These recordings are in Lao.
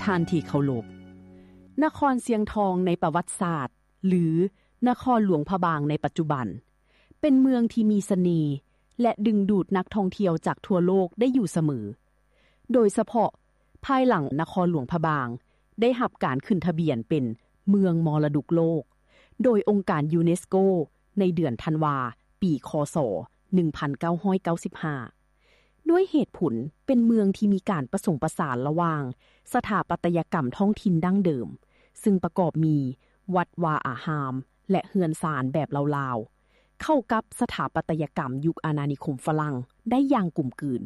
ທ່ານທີ່ເຄົາລົບ, ນະຄອນຊຽງທອງໃນປະຫວັດສາດ ຫຼື ນະຄອນຫຼວງພະບາງໃນປັດຈຸບັນ ເປັນເມືອງທີ່ມີສະເໜ່ ແລະ ດຶງດູດນັກທ່ອງທ່ຽວຈາກທົ່ວໂລກໄດ້ຢູ່ສະເໝີ, ໂດຍສະເພາະພາຍຫຼັງນະຄອນຫຼວງພະບາງໄດ້ຮັບການຂຶ້ນທະບຽນເປັນເມືອງມໍລະດົກໂລກ ໂດຍອົງການຢູເນສໂກ ໃນເດືອນທັນວາ ປີ ຄ.ສ. ໜຶ່ງພັນເກົ້າຮ້ອຍເກົ້າສິບຫ້າ ດ້ວຍເຫດຜົນເປັນເມືອງທີ່ມີການປະສົມປະສານລະຫວ່າງສະຖາປັດຕະຍະກຳທ້ອງຖິ່ນດັ້ງເດີມ, ຊຶ່ງປະກອບມີວັດວາອາຮາມ ແລະ ເຮືອນຊານແບບລາວໆ, ເຂົ້າກັບສະຖາປັດຕະຍະກຳຍຸກອານານິຄົມຝຣັ່ງໄດ້ຢ່າງກົມກືນ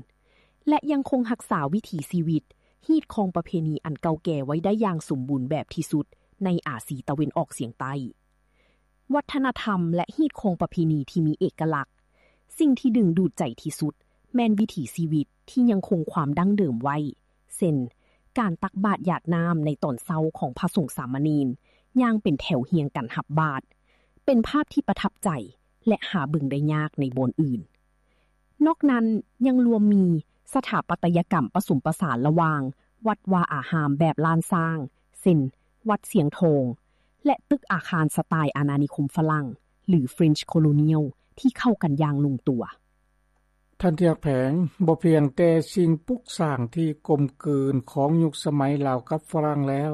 ແລະ ຍັງຄົງຮັກສາວິຖີຊີວິດ, ຮີດຄອງປະເພນີອັນເກົ່າແກ່ໄວ້ໄດ້ຢ່າງສົມບູນແບບທີ່ສຸດໃນອາຊີຕາເວັນອອກສຽງໃຕ້. ວັດທະນະທຳ ແລະ ຮີດຄອງປະເພນີທີ່ມີເອກະລັກ. ສິ່ງທີ່ດຶງດູດໃຈທີ່ສຸດແມ່ນວິຖີຊີວິດທີ່ຍັງຄົງຄວາມດັ້ງເດີມໄວ້, ເຊັ່ນ ການຕັກບາດຢາດນ້ຳໃນຕອນເຊົ້າຂອງພະສົງສາມະເນນ ຍ່າງເປັນແຖວຮຽງກັນຮັບບາດ, ເປັນພາບທີ່ປະທັບໃຈ ແລະ ຫາເບິ່ງໄດ້ຍາກໃນບ່ອນອື່ນ. ນອກນັ້ນຍັງລວມມີສະຖາປັດຕະຍະກຳປະສົມປະສານລະຫວ່າງວັດວາອາຮາມແບບລ້ານຊ້າງ ເຊັ່ນ ວັດຊຽງທອງ ແລະ ຕຶກອາຄານສະໄຕລ໌ອານານິຄົມຝຣັ່ງ ຫຼື French Colonial ທີ່ເຂົ້າກັນຢ່າງລົງຕົວ. ທ່ານທີ່ຮັກແພງ, ບໍ່ພຽງແຕ່ສິ່ງປຸກສ້າງທີ່ກົມກືນຂອງຍຸກສະໄໝລາວກັບຝຣັ່ງແລ້ວ,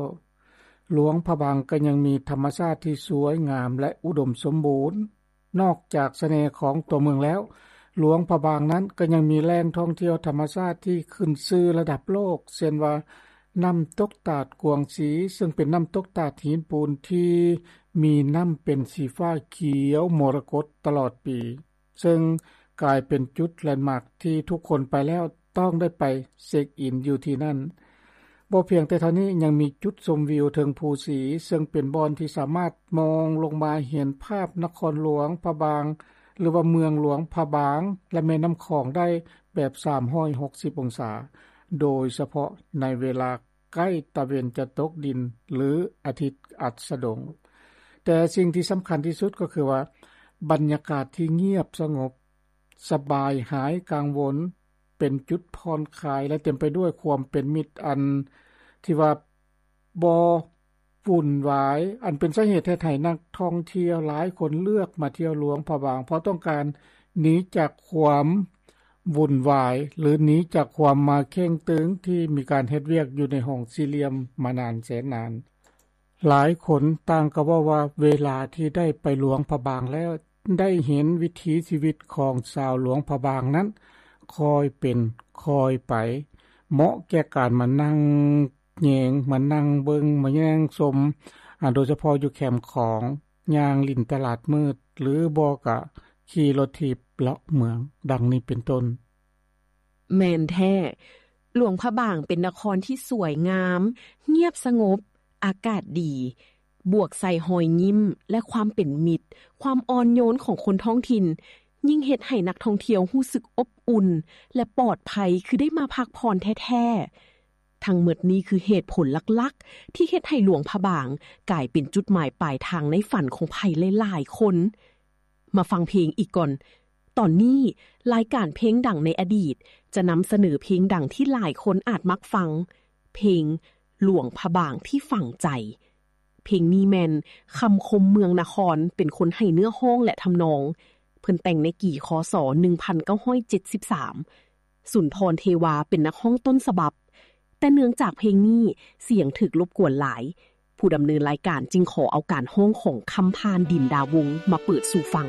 ຫຼວງພະບາງກໍຍັງມີທຳມະຊາດທີ່ສວຍງາມ ແລະ ອຸດົມສົມບູນ. ນອກຈາກສະເໜ່ຂອງຕົວເມືອງແລ້ວ, ຫຼວງພະບາງນັ້ນກໍຍັງມີແຫຼ່ງທ່ອງທ່ຽວທຳມະຊາດທີ່ຂຶ້ນຊື່ລະດັບໂລກ, ເຊັ່ນວ່າ ນ້ຳຕົກຕາດກວາງຊີ, ເຊິ່ງເປັນນ້ຳຕົກຕາດຫີນປູນທີ່ມີນ້ຳເປັນສີຟ້າຂຽວມໍລະກົດຕະຫຼອດປີ, ເຊິ່ງກາຍເປັນຈຸດແລນມາກທີ່ທຸກຄົນໄປແລ້ວຕ້ອງໄດ້ໄປເຊັກອິນຢູ່ທີ່ນັ້ນ. ບໍ່ພຽງແຕ່ເທົ່ານີ້, ຍັງມີຈຸດຊົມວິວເທິງພູສີ, ເຊິ່ງເປັນບ່ອນທີ່ສາມາດມອງລົງມາເຫັນພາບນະຄອນຫຼວງພະບາງ ຫຼືວ່າເມືອງຫຼວງພະບາງ ແລະ ແມ່ນ້ຳຂອງໄດ້ແບບສາມຮ້ອຍຫົກສິບອົງສາ, ໂດຍສະເພາະໃນເວລາໃກ້ຕາເວັນຈະຕົກດິນ ຫຼື ອາທິດອັດສະດົງ. ແຕ່ສິ່ງທີ່ສຳຄັນທີ່ສຸດກໍຄືວ່າ ບັນຍາກາດທີ່ງຽບສະຫງົບ ສະບາຍຫາຍກັງວົນ, ເປັນຈຸດຜ່ອນຄາຍ ແລະ ເຕັມໄປດ້ວຍຄວາມເປັນມິດ ອັນທີ່ວ່າບໍ່ວຸ່ນວາຍ, ອັນເປັນສາເຫດເຮັດໃຫ້ນັກທ່ອງທ່ຽວຫຼາຍຄົນເລືອກມາທ່ຽວຫຼວງພະບາງ ເພາະຕ້ອງການໜີຈາກຄວາມວຸ່ນວາຍ ຫຼື ໜີຈາກຄວາມມາເຄັ່ງຕຶງທີ່ມີການເຮັດວຽກຢູ່ໃນຫ້ອງສີ່ຫຼ່ຽມມານານແສນນານ. ຫຼາຍຄົນຕ່າງກໍເວົ້າວ່າເວລາທີ່ໄດ້ໄປຫຼວງພະບາງແລ້ວ ໄດ້ເຫັນວິຖີຊີວິດຂອງຊາວຫຼວງພະບາງນັ້ນຄ່ອຍເປັນຄ່ອຍໄປ, ເໝາະແກ່ການມານັ່ງແຍງ, ມານັ່ງເບິ່ງ, ມາແຍງຊົມ, ອາ, ໂດຍສະເພາະຢູ່ແຄມຂອງ, ຍ່າງຫຼິ້ນຕະຫຼາດມືດ ຫຼື ບໍ່ກະຂີ່ລົດຖີບເລາະເມືອງ, ດັ່ງນີ້ເປັນຕົ້ນ. ແມ່ນແທ້, ຫຼວງພະບາງເປັນນະຄອນທີ່ສວຍງາມ, ງຽບສະຫງົບ, ອາກາດດີ, ບວກໃສ່ຮອຍຍິ້ມ ແລະ ຄວາມເປັນມິດ, ຄວາມອ່ອນໂຍນຂອງຄົນທ້ອງຖິ່ນ ຍິ່ງເຮັດໃຫ້ນັກທ່ອງທ່ຽວຮູ້ສຶກອົບອຸ່ນ ແລະ ປອດໄພ ຄືໄດ້ມາພັກຜ່ອນແທ້ໆ. ທັງໝົດນີ້ຄືເຫດຜົນຫຼັກໆ ທີ່ເຮັດໃຫ້ຫຼວງພະບາງກາຍເປັນຈຸດໝາຍປາຍທາງໃນຝັນຂອງໃຜຫຼາຍໆຄົນ. ມາຟັງເພງອີກກ່ອນ. ຕອນນີ້ລາຍການເພງດັງໃນອະດີດຈະນຳສະເໜີເພງດັງທີ່ຫຼາຍຄົນອາດມັກຟັງ, ເພງຫຼວງພະບາງທີ່ຝັງໃຈ. ເພງນີ້ແມ່ນຄຳຄົມເມືອງນະຄອນເປັນຄົນໃຫ້ເນື້ອຮ້ອງ ແລະ ທຳນອງ. ເພິ່ນແຕ່ງໃນກີ ຄ.ສ. ໜຶ່ງພັນເກົ້າຮ້ອຍເຈັດສິບສາມ. ສຸນທອນ ເທວາ ເປັນນັກຮ້ອງຕົ້ນສະບັບ, ແຕ່ເນື່ອງຈາກເພງນີ້ສຽງຖືກລົບກວນຫຼາຍ, ຜູ້ດຳເນີນລາຍການຈຶ່ງຂໍເອົາການຮ້ອງຂອງຄຳຜ່ານ ດິນດາວົງ ມາເປີດສູ່ຟັງ.